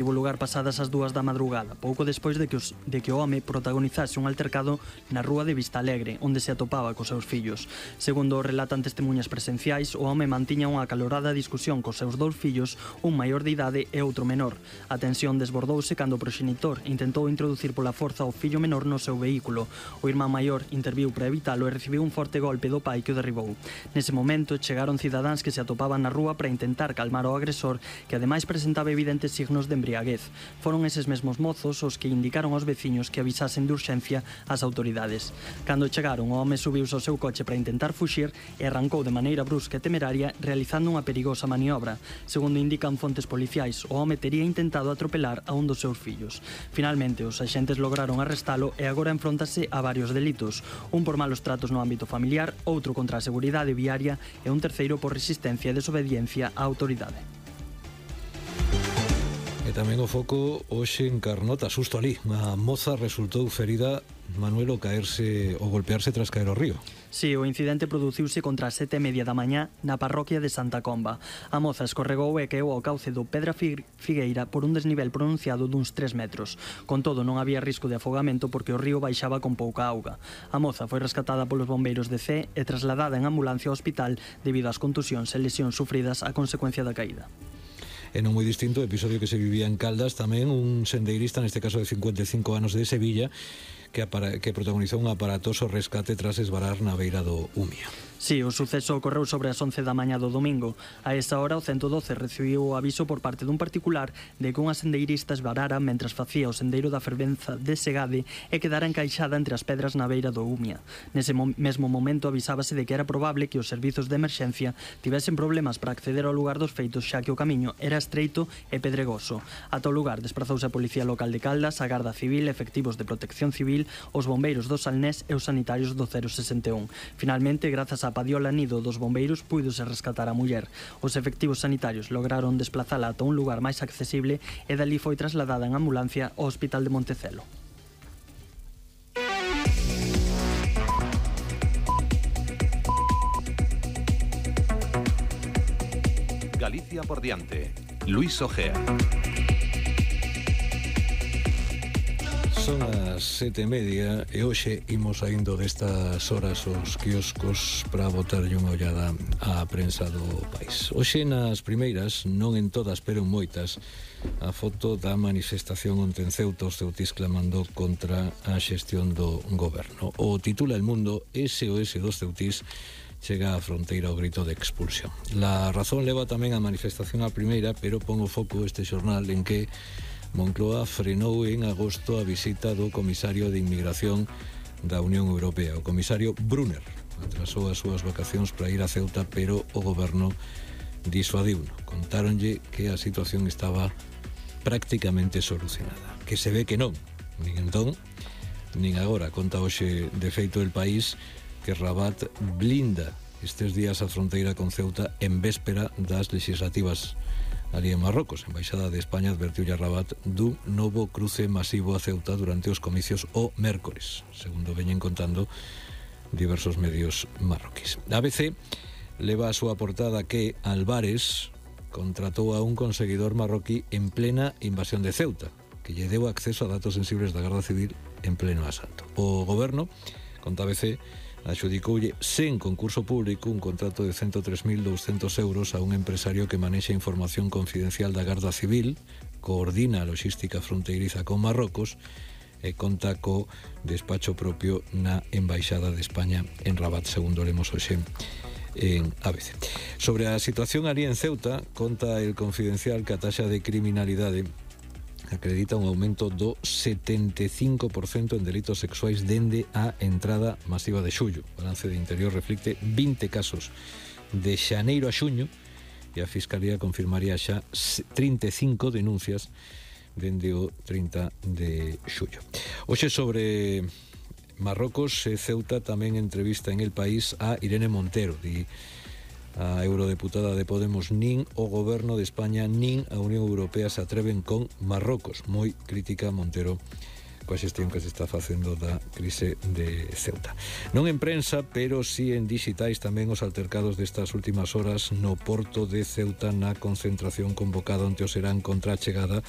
Tivo lugar pasadas as 2 da madrugada, pouco despois de que o home protagonizase un altercado na rúa de Vistalegre, onde se atopaba cos seus fillos. Segundo relatan testemunhas presenciais, o home mantiña unha acalorada discusión cos seus 2 fillos, un maior de idade e outro menor. A tensión desbordouse cando o proxenitor intentou introducir pola forza o fillo menor no seu vehículo. O irmán maior interviu para evitalo e recibiu un forte golpe do pai que o derribou. Nese momento chegaron cidadáns que se atopaban na rúa para intentar calmar o agresor, que ademais presentaba evidentes signos de embriaguez. Foron eses mesmos mozos os que indicaron aos veciños que avisasen de urxencia ás autoridades. Cando chegaron, o home subiuse ao seu coche para intentar fuxir e arrancou de maneira brusca e temeraria, realizando unha perigosa maniobra. Segundo indican fontes policiais, o home tería intentado atropelar a un dos seus fillos. Finalmente, os axentes lograron arrestalo e agora enfróntase a varios delitos, un por malos tratos no ámbito familiar, outro contra a seguridade viaria e un terceiro por resistencia e desobediencia á autoridade. E tamén o foco hoxe en Carnota, susto ali. A moza resultou ferida, Manuel, ao golpearse tras caer ao río. Si, o incidente produciuse contra as 7:30 da mañá na parroquia de Santa Comba. A moza escorregou e caeu ao cauce do Pedra Figueira por un desnivel pronunciado duns 3 metros. Con todo, non había risco de afogamento porque o río baixaba con pouca auga. A moza foi rescatada polos bombeiros de Cee e trasladada en ambulancia ao hospital debido ás contusións e lesións sufridas a consecuencia da caída. E non moi distinto o episodio que se vivía en Caldas, tamén un sendeirista, neste caso de 55 anos, de Sevilla, que protagonizou un aparatoso rescate tras esvarar na beira do Umia. Si, o suceso ocorreu sobre as 11 da mañá do domingo. A esa hora, o 112 recibiu o aviso por parte dun particular de que unha sendeirista esvarara mentras facía o sendeiro da fervenza de Segade e quedara encaixada entre as pedras na beira do Umia. Nese mesmo momento avisábase de que era probable que os servizos de emerxencia tivesen problemas para acceder ao lugar dos feitos, xa que o camiño era estreito e pedregoso. Ata o lugar desprazouse a Policía Local de Caldas, a Garda Civil, efectivos de Protección Civil, os bombeiros do Salnés e os sanitarios do 061. Finalmente, grazas á padiola nido dos bombeiros, púidose rescatar a muller. Os efectivos sanitarios lograron desplazala ata un lugar máis accesible e dali foi trasladada en ambulancia ao Hospital de Montecelo. Galicia por diante. Luis Ojea. Son as 7:30 e hoxe imos saindo destas horas os quioscos para botarlle unha ollada á prensa do país. Hoxe nas primeiras, non en todas pero en moitas, a foto da manifestación onte en Ceuta, os ceutís clamando contra a xestión do goberno. O titula El Mundo, SOS dos ceutís chega á fronteira ao grito de expulsión. La Razón leva tamén a manifestación á primeira, pero pon o foco este xornal en que Moncloa frenou en agosto a visita do comisario de Inmigración da Unión Europea. O comisario Brunner atrasou as súas vacacións para ir a Ceuta, pero o goberno disuadiuno. Contáronlle que a situación estaba prácticamente solucionada. Que se ve que non, nin entón, nin agora. Conta hoxe de feito El País que Rabat blinda estes días a fronteira con Ceuta en véspera das legislativas ali en Marrocos. A Embaixada de España advertiulle a Rabat dun novo cruce masivo a Ceuta durante os comicios o mércores, segundo veñen contando diversos medios marroquíes. A ABC leva a súa portada que Álvarez contratou a un conseguidor marroquí en plena invasión de Ceuta, que lle deu acceso a datos sensibles da Garda Civil en pleno asalto. O goberno, conta ABC, adxudicoulle sen concurso público un contrato de 103.200 euros a un empresario que manexa información confidencial da Garda Civil, coordina a logística fronteiriza con Marrocos e conta co despacho propio na Embaixada de España en Rabat, segundo lemos hoxe en ABC. Sobre a situación ali en Ceuta, conta El Confidencial que a taxa de criminalidade acredita un aumento do 75% en delitos sexuais dende a entrada masiva de xullo. O balance de Interior reflicte 20 casos de xaneiro a xuño e a Fiscalía confirmaría xa 35 denuncias dende o 30 de xullo. Hoxe sobre Marrocos e Ceuta tamén entrevista en El País a Irene Montero, a eurodeputada de Podemos. Nin o goberno de España nin a Unión Europea se atreven con Marrocos. Moi crítica Montero coa xestión que se está facendo da crise de Ceuta. Non en prensa, pero sí en digitais, tamén os altercados destas últimas horas no porto de Ceuta na concentración convocada onte o serán contra a chegada